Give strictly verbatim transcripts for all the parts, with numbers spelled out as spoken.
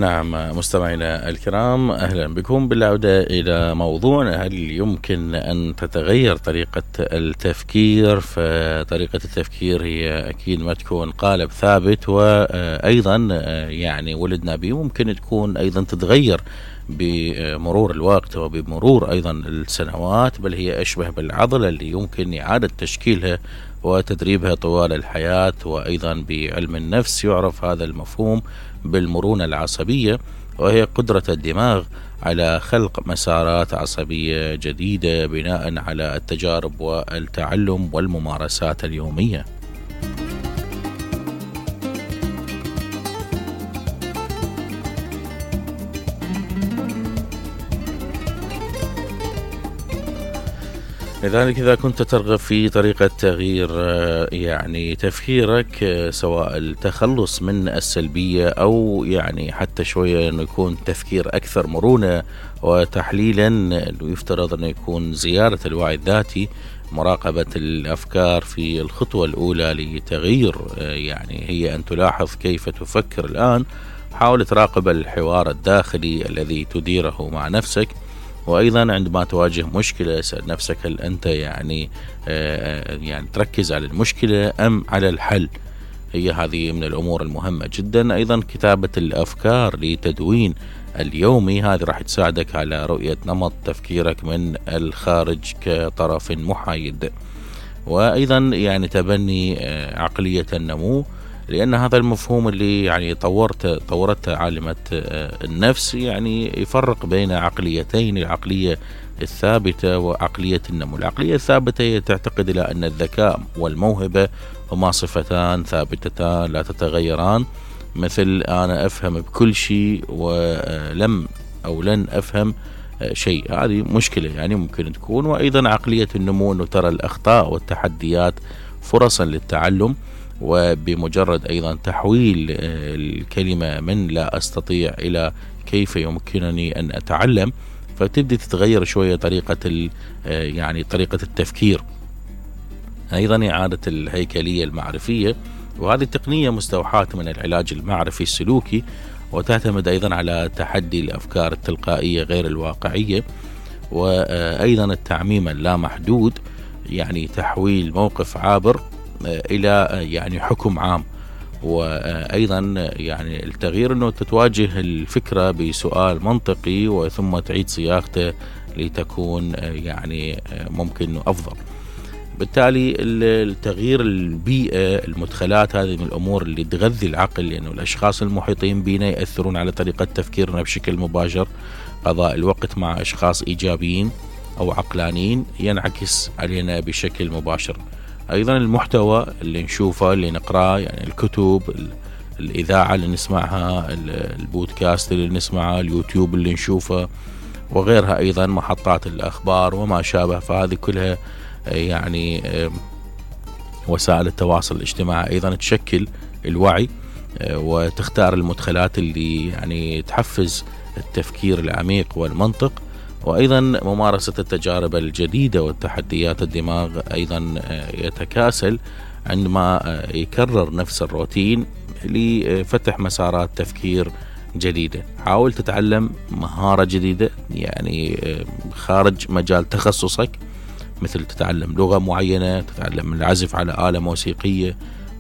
نعم مستمعينا الكرام، أهلا بكم بالعودة إلى موضوعنا. هل يمكن أن تتغير طريقة التفكير؟ فطريقة التفكير هي أكيد ما تكون قالب ثابت، وأيضا يعني ولدنا به ممكن تكون أيضا تتغير بمرور الوقت وبمرور أيضا السنوات، بل هي أشبه بالعضلة اللي يمكن إعادة تشكيلها وتدريبها طوال الحياة. وأيضا بعلم النفس يعرف هذا المفهوم بالمرونة العصبية، وهي قدرة الدماغ على خلق مسارات عصبية جديدة بناء على التجارب والتعلم والممارسات اليومية. لذلك إذا كنت ترغب في طريقة تغيير يعني تفكيرك، سواء التخلص من السلبية أو يعني حتى شوية أنه يكون تفكير أكثر مرونة وتحليلا، يفترض أنه يكون زيادة الوعي الذاتي، مراقبة الأفكار في الخطوة الأولى لتغيير يعني هي أن تلاحظ كيف تفكر الآن. حاول تراقب الحوار الداخلي الذي تديره مع نفسك، وأيضا عندما تواجه مشكلة اسأل نفسك هل أنت يعني آه يعني تركز على المشكلة أم على الحل؟ هي هذه من الأمور المهمة جدا. أيضا كتابة الأفكار لتدوين اليومي، هذه راح تساعدك على رؤية نمط تفكيرك من الخارج كطرف محايد. وأيضا يعني تبني آه عقلية النمو، لأن هذا المفهوم اللي يعني طورت طورته عالمة النفس يعني يفرق بين عقليتين، العقلية الثابتة وعقلية النمو. العقلية الثابتة هي تعتقد إلى أن الذكاء والموهبة هما صفتان ثابتتان لا تتغيران، مثل أنا أفهم بكل شيء ولم أو لن أفهم شيء، هذه مشكلة يعني ممكن تكون. وأيضا عقلية النمو أنه ترى الأخطاء والتحديات فرصا للتعلم، وبمجرد أيضا تحويل الكلمة من لا أستطيع إلى كيف يمكنني أن أتعلم، فتبدأ تتغير شوية طريقة يعني طريقة التفكير. أيضا إعادة الهيكلية المعرفية، وهذه التقنية مستوحاة من العلاج المعرفي السلوكي، وتعتمد أيضا على تحدي الأفكار التلقائية غير الواقعية، وأيضا التعميم اللامحدود، يعني تحويل موقف عابر إلى يعني حكم عام. وأيضا يعني التغيير أنه تتواجه الفكرة بسؤال منطقي وثم تعيد صياغته لتكون يعني ممكن أفضل. بالتالي التغيير البيئة، المدخلات، هذه من الأمور اللي تغذي العقل، لأنه الأشخاص المحيطين بنا يأثرون على طريقة تفكيرنا بشكل مباشر. قضاء الوقت مع أشخاص إيجابيين أو عقلانيين ينعكس علينا بشكل مباشر. أيضا المحتوى اللي نشوفه اللي نقرأه، يعني الكتب، الإذاعة اللي نسمعها، البودكاست اللي نسمعه، اليوتيوب اللي نشوفه وغيرها، أيضا محطات الأخبار وما شابه، فهذه كلها يعني وسائل التواصل الاجتماعي أيضا تشكل الوعي وتختار المدخلات اللي يعني تحفز التفكير العميق والمنطق. وأيضا ممارسة التجارب الجديدة والتحديات. الدماغ أيضا يتكاسل عندما يكرر نفس الروتين لفتح مسارات تفكير جديدة. حاول تتعلم مهارة جديدة يعني خارج مجال تخصصك، مثل تتعلم لغة معينة، تتعلم العزف على آلة موسيقية،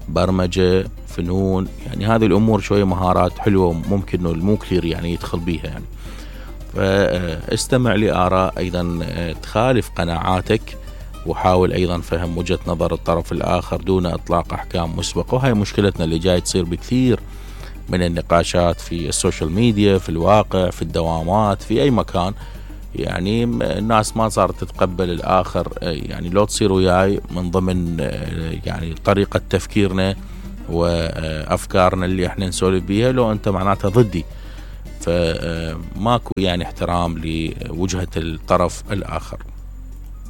برمجة، فنون، يعني هذه الأمور شوية مهارات حلوة ممكن إنه الموكلير يعني يدخل بيها يعني. فاستمع لآراء أيضا تخالف قناعاتك، وحاول أيضا فهم وجهة نظر الطرف الآخر دون إطلاق أحكام مسبقة. وهي مشكلتنا اللي جاي تصير بكثير من النقاشات في السوشيال ميديا، في الواقع، في الدوامات، في أي مكان. يعني الناس ما صارت تتقبل الآخر، يعني لو تصير وياي من ضمن يعني طريقة تفكيرنا وأفكارنا اللي احنا نسولف بيها، لو أنت معناتها ضدي، فماكو يعني احترام لوجهة الطرف الآخر.